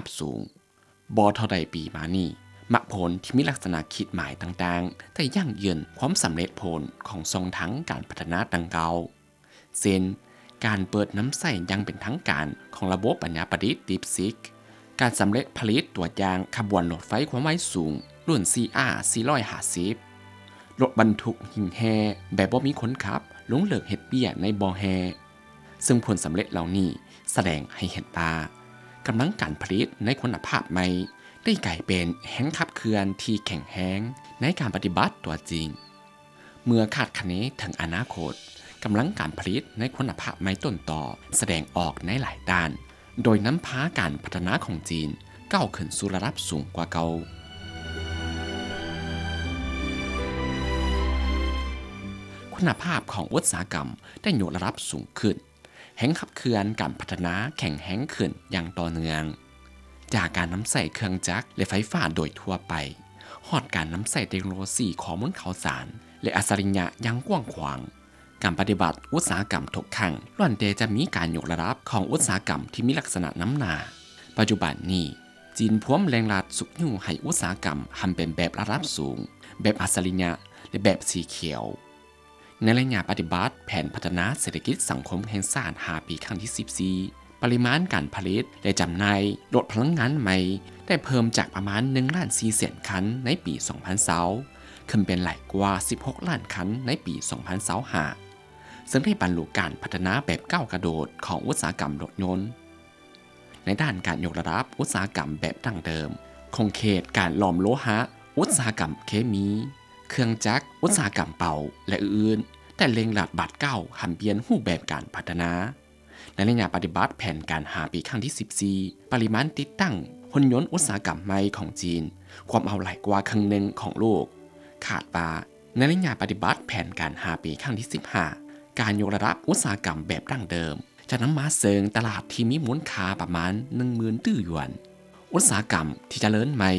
ບສູງ. ບໍ່ເທົ່າໃດປີມານີ້, ໝາກຜົນທີ່ມີລັກສະນະຂີດໝາຍຕ່າງໆ ໄດ້ຢັ້ງຢືນຄວາມສຳເລັດຜົນຂອງຊ່ອງທາງການພັດທະນາດັ່ງກ່າວ, ເຊັ່ນ ການເປີດນຳໃຊ້ຢ່າງເປັນທາງການຂອງລະບົບປັນຍາປະດິດ DeepSeek, ການສຳເລັດຜະລິດຕົວຢ່າງຂະບວນລົດໄຟຄວາມໄວສູງລຸ້ນ CR ສີ່ຮ້ອຍຫ້າສິບ, ລົດບັນທຸກຫິ້ງແຮ່ແບບບໍ່ມີຄົນຂັບລົງເລິກເຮັດເບ້ຍໃນບໍ່ແຮ່. ເຊິ່ງຜົນສຳເລັດເຫຼົ່ານີ້ສະແດງໃຫ້ເຫັນວ່າ ກຳລັງການຜະລິດໃນຄຸນນະພາບໃໝ່ໄດ້ກາຍເປັນແຮງຂັບເຄື່ອນທີ່ແຂງແຮງໃນການປະຕິບັດຕົວຈິງ. ເມື່ອຄາດຄະເນເຖິງອະນາຄົດ, ກຳລັງການຜະລິດໃນຄຸນນະພາບໃໝ່ຕົ້ນຕໍສະແດງອອກໃນຫຼາຍດ້ານ, ໂດຍນຳພາການພັດທະນາຂອງຈີນກ້າວຂຶ້ນສູ່ລະດັບສູງກວ່າເກົ່າ. ຄຸນນະພາບຂອງອຸດສາຫະກຳໄດ້ຍົກລະດັບສູງຂຶ້ນ, ແຮງຂັບເຄື່ອນການພັດທະນາແຂງແຮງຂຶ້ນຢ່າງຕໍ່ເນື່ອງ, ຈາກການນຳໃຊ້ເຄື່ອງຈັກ ແລະ ໄຟຟ້າໂດຍທົ່ວໄປ, ຮອດການນຳໃຊ້ເຕັກໂນໂລຊີຂໍ້ມູນຂ່າວສານ ແລະ ອັດສະລິຍະຢ່າງກວ້າງຂວາງ. ການປະຕິວັດອຸດສາຫະກຳທຸກຄັ້ງລ້ວນແຕ່ຈະມີການຍົກລະດັບຂອງອຸດສາຫະກຳທີ່ມີລັກສະນະນຳໜ້າ. ປັດຈຸບັນນີ້, ຈີນພວມເລັ່ງລັດຊຸກຍູ້ໃຫ້ອຸດສາຫະກຳຫັນເປັນແບບລະດັບສູງ, ແບບອັດສະລິຍະ ແລະ ແບບສີຂຽວ. ໃນໄລຍະປະຕິບັດແຜນພັດທະນາເສດຖະກິດສັງຄົມແຫ່ງຊາດຫ້າປີຄັ້ງທີສິບສີ່, ປະລິມານການຜະລິດ ແລະ ຈຳໜ່າຍລົດພະລັງງານໃໝ່ໄດ້ເພີ່ມຈາກປະມານໜຶ່ງລ້ານສີ່ແສນຄັນໃນປີສອງພັນຊາວ ຂຶ້ນເປັນຫຼາຍກວ່າສິບຫົກລ້ານຄັນໃນປີສອງພັນຊາວຫ້າ ເຊິ່ງໄດ້ບັນລຸການພັດທະນາແບບກ້າວກະໂດດຂອງອຸດສາຫະກຳລົດຍົນ. ໃນດ້ານການຍົກລະດັບອຸດສາຫະກຳແບບດັ້ງເດີມ, ຂົງເຂດການຫຼອມໂລຫະ, ອຸດສາຫະກຳເຄມີ, ເຄື່ອງຈັກ, ອຸດສາຫະກຳເປົ່າ ແລະ ອື່ນໆ ໄດ້ເລັ່ງລັດບາດກ້າວຫັນປ່ຽນຮູບແບບການພັດທະນາ. ໃນໄລຍະປະຕິບັດແຜນການຫ້າປີຄັ້ງທີສິບສີ່, ປະລິມານຕິດຕັ້ງຫຸ່ນຍົນອຸດສາຫະກຳໃໝ່ຂອງຈີນກວມເອົາຫຼາຍກວ່າເຄິ່ງໜຶ່ງຂອງໂລກ. ຄາດວ່າ ໃນໄລຍະປະຕິບັດແຜນການຫ້າປີຄັ້ງທີສິບຫ້າ, ການຍົກລະດັບອຸດສາຫະກຳແບບດັ້ງເດີມ ຈະນຳມາເຊິ່ງຕະຫຼາດທີ່ມີມູນຄ່າປະມານໜຶ່ງໝື່ນຕື້ຢວນ. ອຸດສາຫະກຳທີ່ຈະເລີນໃໝ່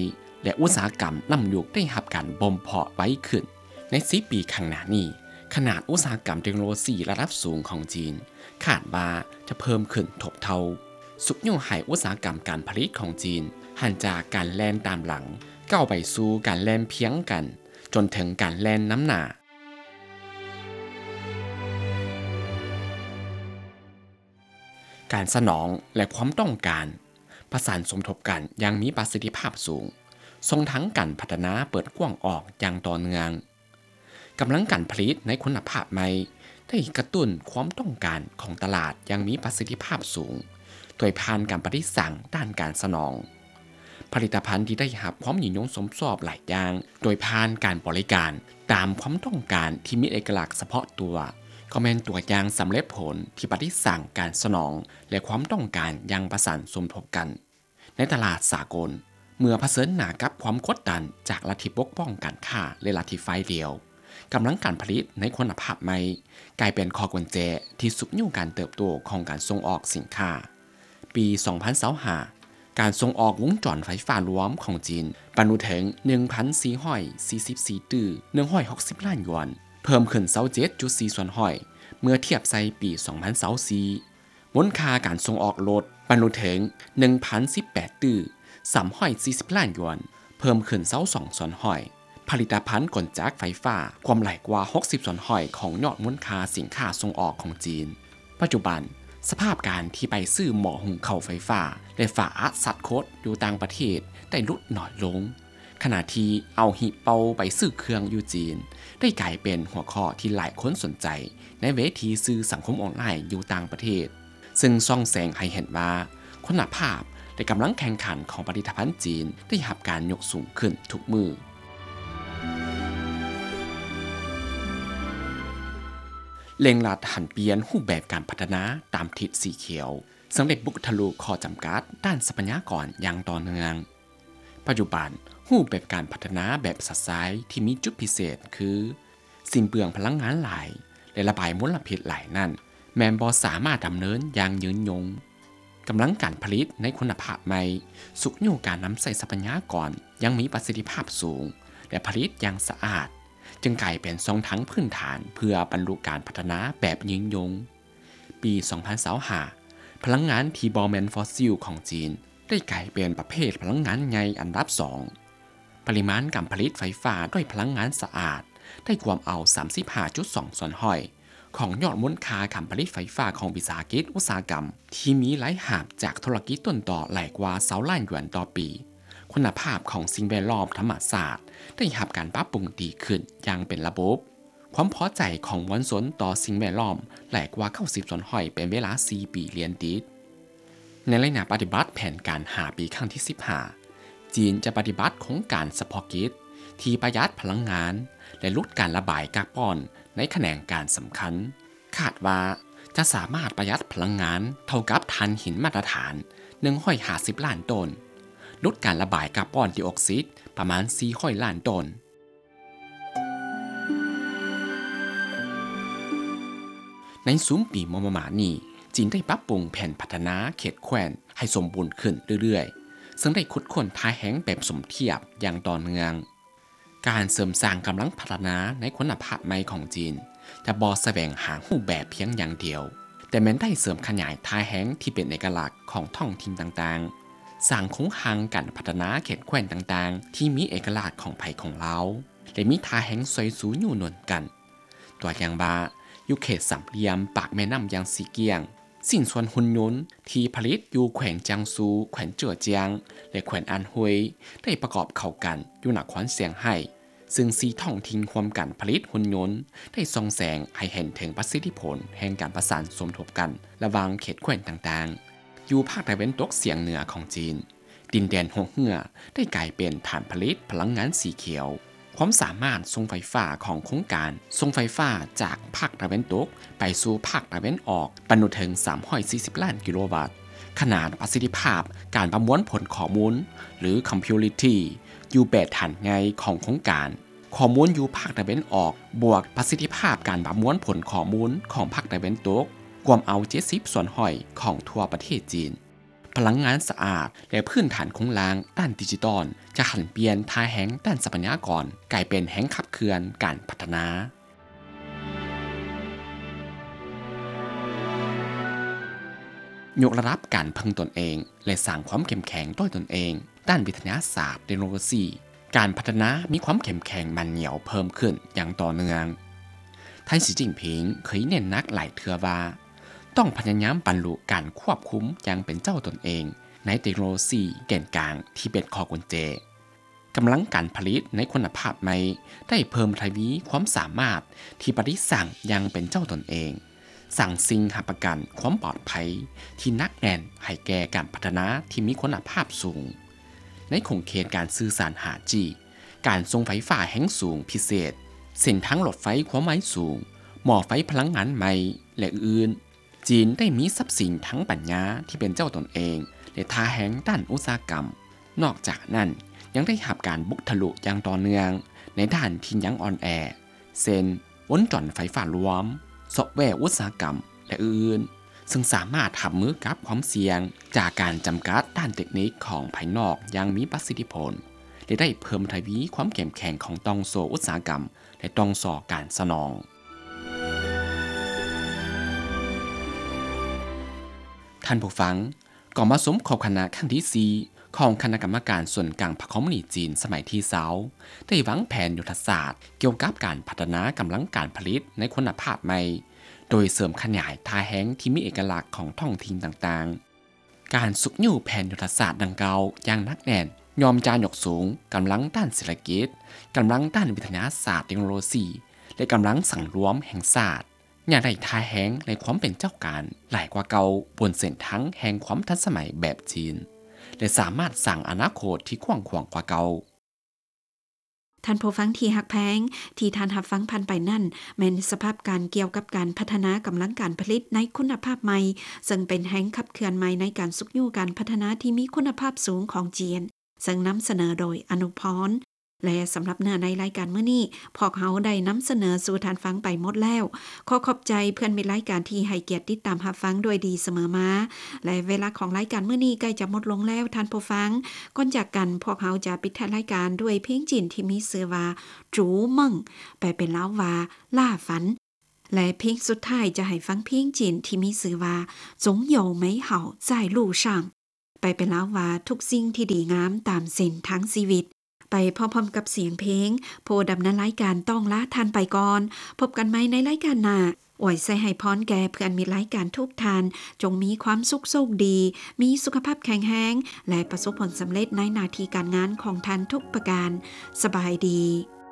ແລະ ອຸດສາຫະກຳນ້ຳຢຸກໄດ້ຮັບການບົ່ມເພາະໄວຂຶ້ນ. ໃນສິບປີຂ້າງໜ້ານີ້, ຂະໜາດອຸດສາຫະກຳເຕັກໂນໂລຊີລະດັບສູງຂອງຈີນ ຄາດວ່າຈະເພີ່ມຂຶ້ນທົບເທົ່າ, ຊຸກຍູ້ໃຫ້ອຸດສາຫະກຳການຜະລິດຂອງຈີນ ຫັນຈາກການແລ່ນຕາມຫຼັງ ກ້າວໄປສູ່ການແລ່ນພຽງກັນ ຈົນເຖິງການແລ່ນນຳໜ້າ. ການສະໜອງ ແລະ ຄວາມຕ້ອງການ ປະສານສົມທົບກັນຢ່າງມີປະສິດທິພາບສູງ, ຊ່ອງທາງການພັດທະນາເປີດກວ້າງອອກຢ່າງຕໍ່ເນື່ອງ. ກຳລັງການຜະລິດໃນຄຸນນະພາບໃໝ່ໄດ້ກະຕຸ້ນຄວາມຕ້ອງການຂອງຕະຫຼາດຢ່າງມີປະສິດທິພາບສູງ ໂດຍຜ່ານການປະດິດສ້າງດ້ານການສະໜອງ. ຜະລິດຕະພັນທີ່ໄດ້ຮັບຄວາມນິຍົມຊົມຊອບຫຼາຍຢ່າງ ໂດຍຜ່ານການບໍລິການຕາມຄວາມຕ້ອງການທີ່ມີເອກະລັກສະເພາະຕົວ ກໍແມ່ນຕົວຢ່າງສຳເລັດຜົນທີ່ປະດິດສ້າງການສະໜອງ ແລະ ຄວາມຕ້ອງການຢ່າງປະສານສົມທົບກັນ. ໃນຕະຫຼາດສາກົນ, ເມື່ອຜະເຊີນໜ້າກັບຄວາມກົດດັນຈາກລັດທິປົກປ້ອງການຄ້າ ແລະ ລັດທິຝ່າຍດຽວ, ກຳລັງການຜະລິດໃນຄຸນນະພາບໃໝ່ ກາຍເປັນຂໍ້ກຸນແຈທີ່ຊຸກຍູ້ການເຕີບໂຕຂອງການສົ່ງອອກສິນຄ້າ. ປີສອງພັນຊາວຫ້າ ການສົ່ງອອກວົງຈອນໄຟຟ້າລວມຂອງຈີນບັນລຸເຖິງໜຶ່ງພັນສີ່ຮ້ອຍສີ່ສິບສີ່ຕື້ໜຶ່ງຮ້ອຍຫົກສິບລ້ານຢວນ, ເພີ່ມຂຶ້ນຊາວເຈັດຈຸດສີ່ສ່ວນຮ້ອຍເມື່ອທຽບໃສ່ປີສອງພັນຊາວສີ່. ມູນຄ່າການສົ່ງອອກລົດບັນລຸເຖິງໜຶ່ງພັນສິບແປດຕື້ສາມຮ້ອຍສີ່ສິບລ້ານຢວນ, ເພີ່ມຂຶ້ນຊາວສອງສ່ວນຮ້ອຍ. ຜະລິດຕະພັນກົນຈັກໄຟຟ້າກວມຫຼາຍກວ່າຫົກສິບສ່ວນຮ້ອຍຂອງຍອດມູນຄ່າສິນຄ້າສົ່ງອອກຂອງຈີນ. ປັດຈຸບັນ, ສະພາບການທີ່ໄປຊື້ໝໍ້ຫຸງເຂົ້າໄຟຟ້າ ແລະ ຝາອັດສັດຄົດຢູ່ຕ່າງປະເທດໄດ້ຫຼຸດໜ້ອຍລົງ, ຂະນະທີ່ເອົາຫິເປົ່າໄປຊື້ເຄື່ອງຢູ່ຈີນ ໄດ້ກາຍເປັນຫົວຂໍ້ທີ່ຫຼາຍຄົນສົນໃຈໃນເວທີສື່ສັງຄົມອອນລາຍຢູ່ຕ່າງປະເທດ. ເຊິ່ງສ່ອງແສງໃຫ້ເຫັນວ່າຄຸນນະພາບ ແລະ ກຳລັງແຂ່ງຂັນຂອງຜະລິດຕະພັນຈີນໄດ້ຮັບການຍົກສູງຂຶ້ນທຸກມື້. ເລັ່ງລັດຫັນປ່ຽນຮູບແບບການພັດທະນາຕາມທິດສີຂຽວ, ເຊິ່ງໄດ້ບຸກທະລຸຂໍ້ຈຳກັດດ້ານຊັບພະຍາກອນຢ່າງຕໍ່ເນື່ອງ. ປັດຈຸບັນ, ຮູບແບບການພັດທະນາແບບຊະຊາຍທີ່ມີຈຸດພິເສດຄື ສິ້ນເປືອງພະລັງງານຫຼາຍ ແລະ ລະບາຍມົນລະພິດຫຼາຍນັ້ນ ແມ່ນບໍ່ສາມາດດຳເນີນຢ່າງຍືນຍົງ. ກຳລັງການຜະລິດໃນຄຸນນະພາບໃໝ່ ຊຸກຍູ້ການນຳໃຊ້ຊັບພະຍາກອນຢ່າງມີປະສິດທິພາບສູງ ແລະ ຜະລິດຢ່າງສະອາດ, ຈຶ່ງກາຍເປັນຊ່ອງທາງພື້ນຖານເພື່ອບັນລຸການພັດທະນາແບບຍືນຍົງ. ປີສອງພັນຊາວຫ້າ ພະລັງງານທີ່ບໍ່ແມ່ນຟອດຊິວຂອງຈີນ ໄດ້ກາຍເປັນປະເພດພະລັງງານໃຫຍ່ອັນດັບສອງ. ປະລິມານການຜະລິດໄຟຟ້າດ້ວຍພະລັງງານສະອາດໄດ້ກວມເອົາສາມສິບຫ້າຈຸດສອງສ່ວນຮ້ອຍຂອງຍອດມູນຄ່າການຜະລິດໄຟຟ້າຂອງວິສາຫະກິດອຸດສາຫະກຳ ທີ່ມີລາຍຮັບຈາກທຸລະກິດຕົ້ນຕໍຫຼາຍກວ່າຊາວລ້ານຢວນຕໍ່ປີ. ຄຸນນະພາບຂອງສິ່ງແວດລ້ອມທຳມະຊາດໄດ້ຮັບການປັບປຸງດີຂຶ້ນຢ່າງເປັນລະບົບ. ຄວາມພໍໃຈຂອງມວນຊົນຕໍ່ສິ່ງແວດລ້ອມຫຼາຍກວ່າເກົ້າສິບສ່ວນຮ້ອຍເປັນເວລາສີ່ປີລຽນຕິດ. ໃນໄລຍະປະຕິບັດແຜນການຫ້າປີຄັ້ງທີສິບຫ້າ ຈີນຈະປະຕິບັດໂຄງການສະເພາະກິດທີ່ປະຢັດພະລັງງານ ແລະ ຫຼຸດການລະບາຍກາບອນໃນຂະແໜງການສຳຄັນ. ຄາດວ່າຈະສາມາດປະຢັດພະລັງງານເທົ່າກັບຖ່ານຫີນມາດຕະຖານໜຶ່ງຮ້ອຍຫ້າສິບລ້ານໂຕນ, ຫຼຸດການລະບາຍກາບອນໄດອອກຊິດປະມານສີ່ຮ້ອຍລ້ານໂຕນ. ໃນຊຸມປີມໍ່ໆມານີ້, ຈີນໄດ້ປັບປຸງແຜນພັດທະນາເຂດແຄວ້ນໃຫ້ສົມບູນຂຶ້ນເລື້ອຍໆ, ເຊິ່ງໄດ້ຂຸດຄົ້ນທ່າແຮງແບບສົມທຽບຢ່າງຕໍ່ເນື່ອງ. ການເສີມສ້າງກຳລັງພັດທະນາໃນຄຸນນະພາບໃໝ່ຂອງຈີນ ຈະບໍ່ສະແຫວງຫາຮູບແບບພຽງຢ່າງດຽວ, ແຕ່ແມ່ນໄດ້ເສີມຂະຫຍາຍທ່າແຮງທີ່ເປັນເອກະລັກຂອງທ້ອງຖິ່ນຕ່າງໆ, ສ້າງໂຄງຮ່າງການພັດທະນາເຂດແຄວ້ນຕ່າງໆທີ່ມີເອກະລັກຂອງໃຜຂອງລາວ ແລະ ມີທ່າແຮງຊ່ອຍຊູຍູ້ໜູນກັນ. ຕົວຢ່າງວ່າ, ຢູ່ເຂດສາມຫຼ່ຽມປາກແມ່ນ້ຳຢ່າງຊີກຽງ, ຊິ້ນສ່ວນຫຸ່ນຍົນທີ່ຜະລິດຢູ່ແຂວງຈຽງຊູ, ແຂວງເຈີອຈຽງ ແລະ ແຂວງອັນຫົຍ ໄດ້ປະກອບເຂົ້າກັນຢູ່ນະຄອນຊຽງໄຮ້, ເຊິ່ງສີ່ທ້ອງຖິ່ນຮ່ວມກັນຜະລິດຫຸ່ນຍົນ ໄດ້ສ່ອງແສງໃຫ້ເຫັນເຖິງປະສິດທິຜົນແຫ່ງການປະສານສົມທົບກັນລະຫວ່າງເຂດແຄວ້ນຕ່າງໆ ຢູ່ພາກຕາເວັນຕົກສຽງເໜືອຂອງຈີນ. ດິນແດນຫົວເຮືອໄດ້ກາຍເປັນຖານຜະລິດພະລັງງານສີຂຽວ. ຄວາມສາມາດສົ່ງໄຟຟ້າຂອງໂຄງການສົ່ງໄຟຟ້າຈາກພາກຕາເວັນຕົກໄປສູ່ພາກຕາເວັນອອກບັນລຸເຖິງສາມຮ້ອຍສີ່ສິບລ້ານກິໂລວັດ. ຂະໜາດປະສິດທິພາບການປະມວນຜົນຂໍ້ມູນ ຫຼື Cumulative ຢູ່ແປດຖານໃຫຍ່ຂອງໂຄງການ. ຂໍ້ມູນຢູ່ພາກຕາເວັນອອກ ບວກປະສິດທິພາບການປະມວນຜົນຂໍ້ມູນຂອງພາກຕາເວັນຕົກ ກວມເອົາເຈັດສິບສ່ວນຮ້ອຍຂອງທົ່ວປະເທດຈີນ. ພະລັງງານສະອາດ ແລະ ພື້ນຖານໂຄງລ່າງດ້ານດິຈິຕອນ ຈະຫັນປ່ຽນທ່າແຮງດ້ານຊັບພະຍາກອນກາຍເປັນແຮງຂັບເຄື່ອນການພັດທະນາ. ຍົກລະດັບການເພິ່ງຕົນເອງ ແລະ ສ້າງຄວາມເຂັ້ມແຂງດ້ວຍຕົນເອງດ້ານວິທະຍາສາດເຕັກໂນໂລຊີ. ການພັດທະນາມີຄວາມເຂັ້ມແຂງໝັ້ນໜຽວເພີ່ມຂຶ້ນຢ່າງຕໍ່ເນື່ອງ. ທ່ານ ສີຈິ້ນຜິງ ເຄີຍເນັ້ນໜັກຫຼາຍເທື່ອວ່າ ຕ້ອງພະຍາຍາມບັນລຸການຄວບຄຸມຢ່າງເປັນເຈົ້າຕົນເອງໃນເຕັກໂນໂລຊີແກນກາງທີ່ເປັນຂໍ້ກຸນແຈ. ກຳລັງການຜະລິດໃນຄຸນນະພາບໃໝ່ໄດ້ເພີ່ມທະວີຄວາມສາມາດທີ່ປະດິດສ້າງຢ່າງເປັນເຈົ້າຕົນເອງ, ສ້າງສິ່ງຮັບປະກັນຄວາມປອດໄພທີ່ໜັກແໜ້ນໃຫ້ແກ່ການພັດທະນາທີ່ມີຄຸນນະພາບສູງ. ໃນຂົງເຂດການສື່ສານຫ້າຈີ, ການສົ່ງໄຟຟ້າແຮງສູງພິເສດ, ເສັ້ນທາງລົດໄຟຄວາມໄວສູງ, ໝໍ້ໄຟພະລັງງານໃໝ່ ແລະ ອື່ນໆ, ຈີນໄດ້ມີຊັບສິນທາງປັນຍາທີ່ເປັນເຈົ້າຕົນເອງ ແລະ ທ່າແຮງດ້ານອຸດສາຫະກຳ. ນອກຈາກນັ້ນ, ຍັງໄດ້ຮັບການບຸກທະລຸຢ່າງຕໍ່ເນື່ອງໃນດ້ານທີ່ຍັງອ່ອນແອ, ເຊັ່ນ ວົງຈອນໄຟຟ້າລວມ, ຊອບແວອຸດສາຫະກຳ ແລະ ອື່ນໆ, ເຊິ່ງສາມາດຮັບມືກັບຄວາມສ່ຽງຈາກການຈຳກັດດ້ານເຕັກນິກຂອງພາຍນອກຢ່າງມີປະສິດທິຜົນ ແລະ ໄດ້ເພີ່ມທະວີຄວາມເຂັ້ມແຂງຂອງຕ່ອງໂສ້ອຸດສາຫະກຳ ແລະ ຕ່ອງໂສ້ການສະໜອງ. ທ່ານຜູ້ຟັງ, ກອງປະຊຸມຄົບຄະນະຄັ້ງທີສີ່ ຂອງຄະນະກຳມະການສູນກາງພັກຄອມມູນິດຈີນສະໄໝທີຊາວ ໄດ້ວາງແຜນຍຸດທະສາດກ່ຽວກັບການພັດທະນາກຳລັງການຜະລິດໃນຄຸນນະພາບໃໝ່, ໂດຍເສີມຂະຫຍາຍທ່າແຮງທີ່ມີເອກະລັກຂອງທ້ອງຖິ່ນຕ່າງໆ. ການຊຸກຍູ້ແຜນຍຸດທະສາດດັ່ງກ່າວຢ່າງໜັກແໜ້ນ ຍ່ອມຈະຍົກສູງກຳລັງດ້ານເສດຖະກິດ, ກຳລັງດ້ານວິທະຍາສາດເຕັກໂນໂລຊີ ແລະ ກຳລັງສັງລວມແຫ່ງຊາດ. ຍາກໄດ້ທ່າແຮງ ແລະ ຄວາມເປັນເຈົ້າການຫຼາຍກວ່າເກົ່າ ບົນເສັ້ນທາງແຫ່ງຄວາມທັນສະໄໝແບບຈີນ ແລະ ສາມາດສ້າງອະນາຄົດທີ່ກວ້າງຂວາງກວ່າເກົ່າ. ທ່ານຜູ້ຟັງທີ່ຮັກແພງ, ທີ່ທ່ານຮັບຟັງຜ່ານໄປນັ້ນ ແມ່ນສະພາບການກ່ຽວກັບການພັດທະນາກຳລັງການຜະລິດໃນຄຸນນະພາບໃໝ່, ເຊິ່ງເປັນແຮງຂັບເຄື່ອນໃໝ່ໃນການຊຸກຍູ້ການພັດທະນາທີ່ມີຄຸນນະພາບສູງຂອງຈີນ, ເຊິ່ງນຳສະເໜີໂດຍອະນຸພອນ. ແລະ ສຳລັບເນື້ອໃນລາຍການມື້ນີ້ ພວກເຮົາໄດ້ນຳສະເໜີສູ່ທ່ານຟັງໄປໝົດແລ້ວ. ຂໍຂອບໃຈເພື່ອນມິດລາຍການທີ່ໃຫ້ກຽດຕິດຕາມຮັບຟັງດ້ວຍດີສະເໝີມາ ແລະ ເວລາຂອງລາຍການມື້ນີ້ໃກ້ຈະໝົດລົງແລ້ວທ່ານຜູ້ຟັງ. ກ່ອນຈາກກັນ, ພວກເຮົາຈະປິດທ້າຍລາຍການດ້ວຍເພງຈີນທີ່ມີຊື່ວ່າ ຈູເມິງ, ແປເປັນລາວວ່າ ລ່າຝັນ. ແລະ ເພງສຸດທ້າຍຈະໃຫ້ຟັງເພງຈີນທີ່ມີຊື່ວ່າ 总有美好在路上. ໄປເປັນລາວວ່າ ທຸກສິ່ງທີ່ດີງາມຕາມເສັ້ນທາງຊີວິດ. ໄປພ້ອມໆກັບສຽງເພງ ຜູ້ດຳເນີນລາຍການຕ້ອງລາທ່ານໄປກ່ອນ. ພົບກັນໃໝ່ໃນລາຍການໜ້າ. ອວຍໄຊໃຫ້ພອນແກ່ເພື່ອນມິດລາຍການທຸກທ່ານ, ຈົ່ງມີຄວາມສຸກໂຊກດີ, ມີສຸຂະພາບແຂງແຮງ ແລະ ປະສົບຜົນສຳເລັດໃນໜ້າທີ່ການງານຂອງທ່ານທຸກປະການ. ສະບາຍດີ.